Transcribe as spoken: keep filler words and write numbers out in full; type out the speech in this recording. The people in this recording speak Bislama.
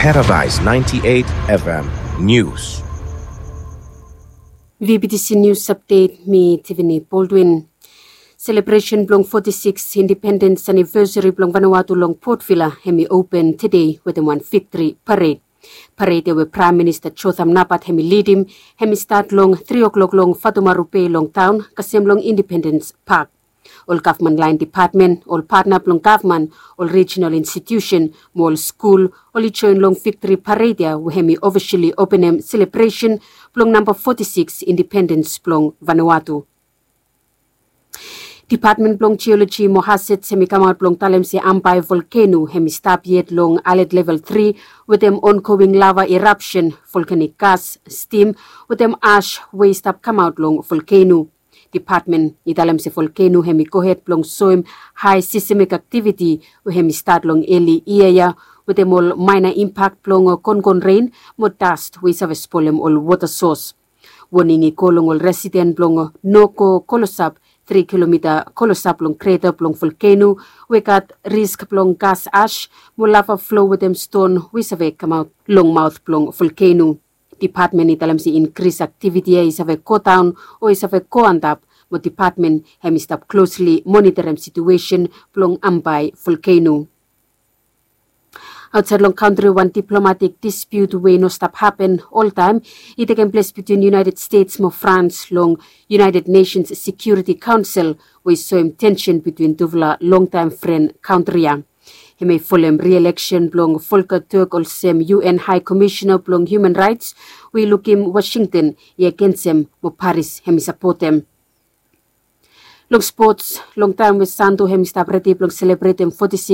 Paradise ninety-eight F M News. V B T C News Update, mi Tiffany Baldwin. Selebresen blong forty-six independens anivesari blong Vanuatu long Port Vila hemi open tede wetem wan viktri pared. Pared ya we Praem Minista Jotham Napat hemi lidim hemi stat long tri o'klok long Fatumaru Bay long taon kasem long Independens Pak. Ol gavman laen depatmen, ol patna blong gavman, ol rijinal institiusen mo ol skul oli joen long viktri pared ya we hemi ofisali openem selebresen blong namba forty-six independens blong Vanuatu. Depatmen blong Jioloji mo Hazats hemi kamaot blong talem se Ambae volkeno hemi stap yet long alet level tri wetem ongoing lava erapsen, volkanik gas, stim wetem ash we i stap kamaot long volkeno. Depatmen i talem se volkeno hemi gohed blong soem hae sismik aktiviti we hemi stat long eli yia ya wetem ol maena impak blong kongon ren mo das we i save spolem ol wota sos. Woning i go long ol residen blong no go klosap tri kilomita klosap long kreta blong volkeno we gat risk blong gas ash mo lava flo wetem ston we i save kamaot long maot blong volkeno. Depatmen i talem se inkris aktiviti ya i save godaon o i save go antap mo depatmen hemi stap klosli moniterem situesen blong Ambae volkeno. Aotsaed long kantri wan diplomatik dispiut we i no stap hapen oltaem i tekem ples bitwin United States mo Frans long United Nations Security Council we i soem tensen bitwin tufala longtaem fren kantri ya. Hemi folem rieleksen blong Volker Turk olsem U N High Commissioner blong Human Rights we i lukim Washington i agensem mo Paris hemi sapotem. Long spots, long taem we Santo hemi stap redi blong selebretem forty-six